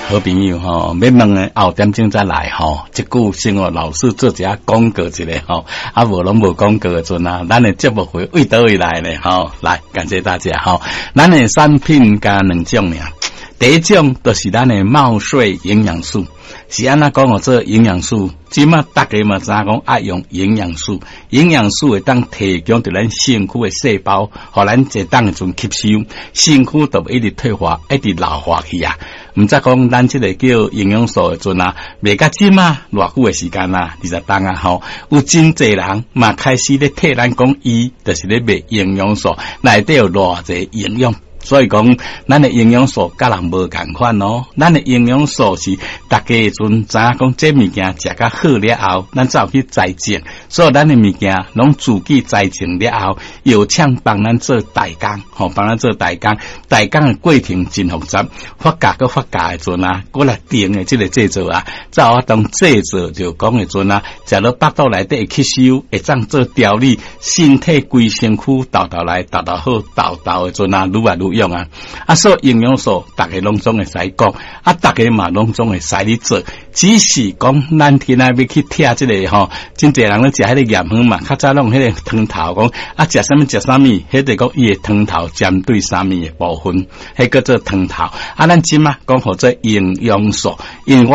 好朋友吼，欲問的後點鐘再來吼。這久先予老師做一下廣告一下吼，啊無攏無廣告的陣啊，咱的節目費為佗位來呢吼？來，感謝大家吼。咱的產品敢若兩種爾，第一種就是咱的茂穗營養素，是按怎講號做營養素？這馬逐家嘛知影講愛用營養素，營養素會當提供著咱身軀的細胞，予咱這當的陣吸收，身軀就會一直退化，一直老化去啊。毋則講咱這个叫營養素的陣啊，賣甲這馬偌久的時間啊，20冬啊吼，有真濟人嘛開始咧替咱講，伊就是咧賣營養素，內底有偌濟營養。所以講，咱的營養素佮人無仝款哦。咱的營養素是逐家的陣知影講，這物件食較好了後，咱才有去栽種。所以咱的物件攏自己栽種了後，藥廠幫咱做代工，吼，幫咱做代工。代工的過程真複雜，發酵閣發酵的陣啊，閣來定的這个製作啊，才有法當製作就講的陣啊，食落腹肚內底會吸收，會當做調理身體規身軀，沓沓來沓沓好，沓沓的陣啊，愈來愈用啊！啊，所以營養素，逐家攏總會使講，啊，逐家嘛攏總會使咧做，只是講咱今仔欲去拆這个吼，真濟人咧食彼个鹽粉嘛，較早攏彼个湯頭講啊，食啥物食啥物，彼個講伊的湯頭針對啥物的部分，彼叫做湯頭。啊，咱這馬講號做營養素，因為我